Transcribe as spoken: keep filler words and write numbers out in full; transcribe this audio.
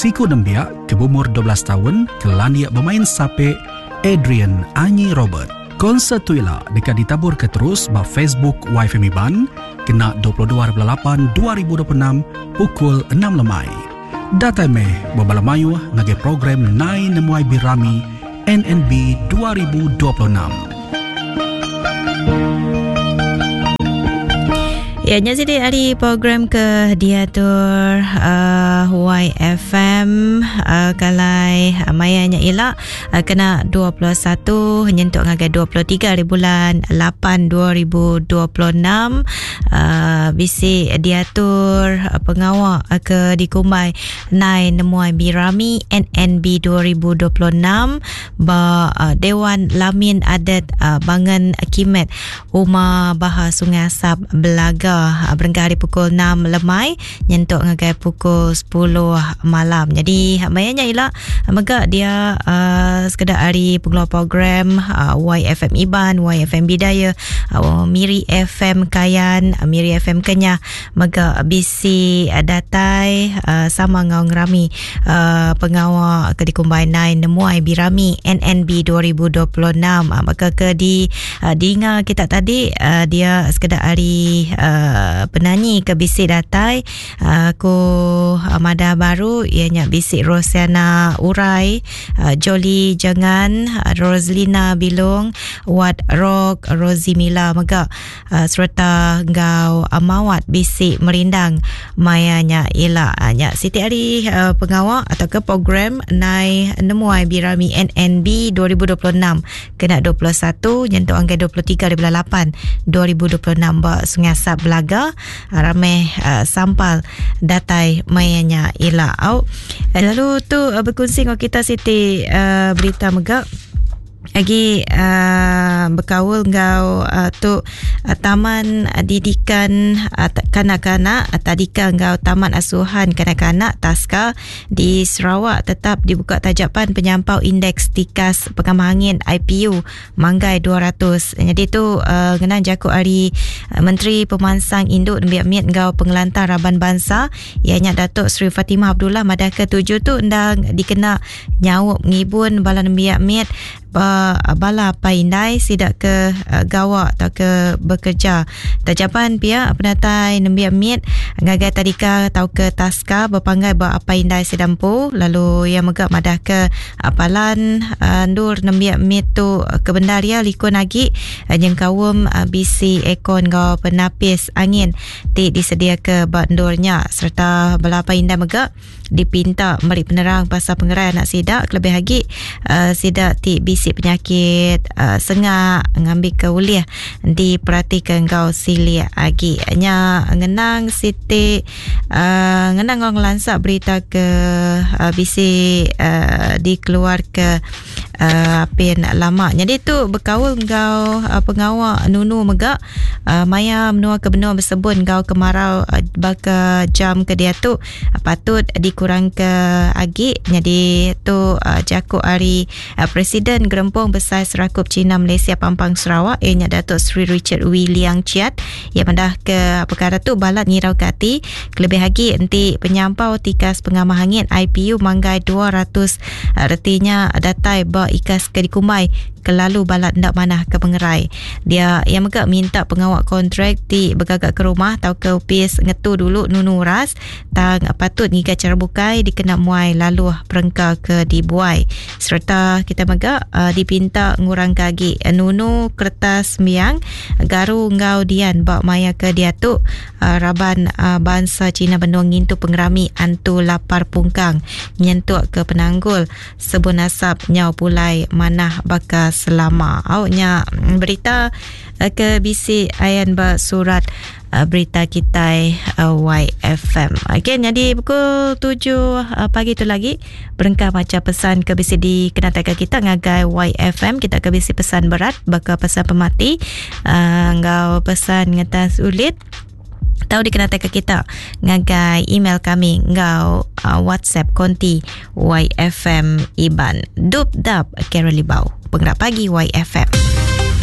siku nembiak ke beumur dua belas taun ke landik bemain sape Adrian Anyi Robert. Konsert tu ila deka ditaburka terus ba Facebook Y F M Iban kena dua puluh dua hari bulan lapan dua ribu dua puluh enam pukul enam lemai. Datai meh bebala mayuh ngagai program Nai Nemuai Birami N N B dua ribu dua puluh enam. Ya, nya jadi hari program ke diatur uh, Y F M uh, kalai uh, maya nya ila uh, kena dua puluh satu nyentuk ngagai dua puluh tiga hari bulan lapan dua ribu dua puluh enam uh, bisi diatur uh, pengawak uh, ke dikumbai Nai Nemuai Birami N N B dua ribu dua puluh enam ba uh, Dewan Lamin Adat uh, Bangan Kimet Uma Baha Sungai Asap Belaga berengkah hari pukul enam lemai nyentuk ngagai pukul sepuluh malam. Jadi mayanya ila mega dia uh, sekedar hari pengeluar program uh, Y F M Iban, Y F M Bidaya, uh, Miri F M Kayan, uh, Miri F M Kenyah mega bisi uh, datai uh, sama ngau ngerami uh, pengawak ke dikumbai Nai Nemuai Birami N N B dua ribu dua puluh enam. Uh, maka ke di uh, dinga kita tadi uh, dia sekedar hari uh, penyanyi ke bisi datai aku uh, madah baru ianya bisi Rosiana Urai, uh, Jolie Jangan, uh, Roslina Bilong, Wat Rock, Rosie Mila mega uh, serta ngau uh, Mawat bisi merindang mayanya ila uh, nya siti hari uh, pengawak atau ke program Nai Nemuai Birami N N B dua ribu dua puluh enam kena dua puluh satu nyentuk angka dua puluh tiga hari bulan lapan dua ribu dua puluh enam ba Sungai Asap Belaga ramai uh, sampal datai mayanya ila au. Lalu tu uh, berkongsi dengan kita siti uh, berita mega lagi uh, berkaul ngau uh, tu uh, Taman Didikan uh, Kanak-kanak uh, Tadika ngau Taman Asuhan Kanak-kanak Taska di Sarawak tetap dibuka tajapan penyampau indeks tikas pengamah angin I P U manggai dua ratus. Jadi tu uh, ngenang jakuk hari uh, Menteri Pemansang Induk Nembiak Miat ngau Pengelantar Raban Bangsa ianya Datuk Seri Fatimah Abdullah madah ketujuh tu endang dikena nyaup ngibun bala nembiak miat bala paindai sidak ke uh, gawak atau ke bekerja. Tajapan pihak penatai nembiak miat ngagai tadika atau ke taska berpanggai ba paindai sidampu lalu yang megak madah ke apalan uh, ndur nembiak miat tu ke bendaria likun lagi uh, nyengkawum uh, B C ekon gau penapis angin ti disedia ke ba ndurnya serta bala paindai megak dipinta meri penerang pasal pengerai anak sidak kelebih lagi uh, sidak ti bisi penyakit uh, sengak ngambil ke ulih diperhatikan kau silik agi nya ngenang siti uh, ngenang ngong lansak berita ke uh, bisi uh, dikeluar ke uh, pin lama. Jadi tu berkaul ngau uh, pengawak nunu megak uh, maya menua ke benua bersebun ngau kemarau uh, baka jam ke dia tu uh, patut dikurang ke agi. Jadi tu uh, jakuk hari uh, Presiden Gerempung Besar Serakup Cina Malaysia Pampang Sarawak ianya Datuk Seri Richard Wee Liang Chiat ia mendah ke perkara tu balat ngirau ke hati kelebih lagi enti penyampau tikas pengamah angin I P U manggai dua ratus uh, retinya datai ba ikas ke dikumbai kelalu balat ndak manah ke pengerai. Dia yang megak minta pengawak kontrak ti bergagak ke rumah atau ke upis ngetu dulu nunu ras tang patut ngiga cara bukai dikena muai lalu perengka ke dibuai. Serta kita megak uh, dipinta ngurang kagi nunu kertas miang garu ngau dian bak maya ke dia tu uh, raban uh, bangsa Cina benung ngintu pengerami antu lapar pungkang nyentuk ke penanggul sebun asap nyau pulai manah bakal selama. Awaknya berita ke B C ayan bersurat berita kita Y F M. Okey, jadi pukul tujuh pagi tu lagi berengkah baca pesan ke B C di kenatakan kita ngagai Y F M. Kita ke B C pesan berat bakal pesan pemati ngau pesan ngetas ulit tahu dikenatakan kita ngagai email kami ngau uh, WhatsApp konti Y F M Iban. Dup dap Carol Libau. Penggerak pagi Y F M.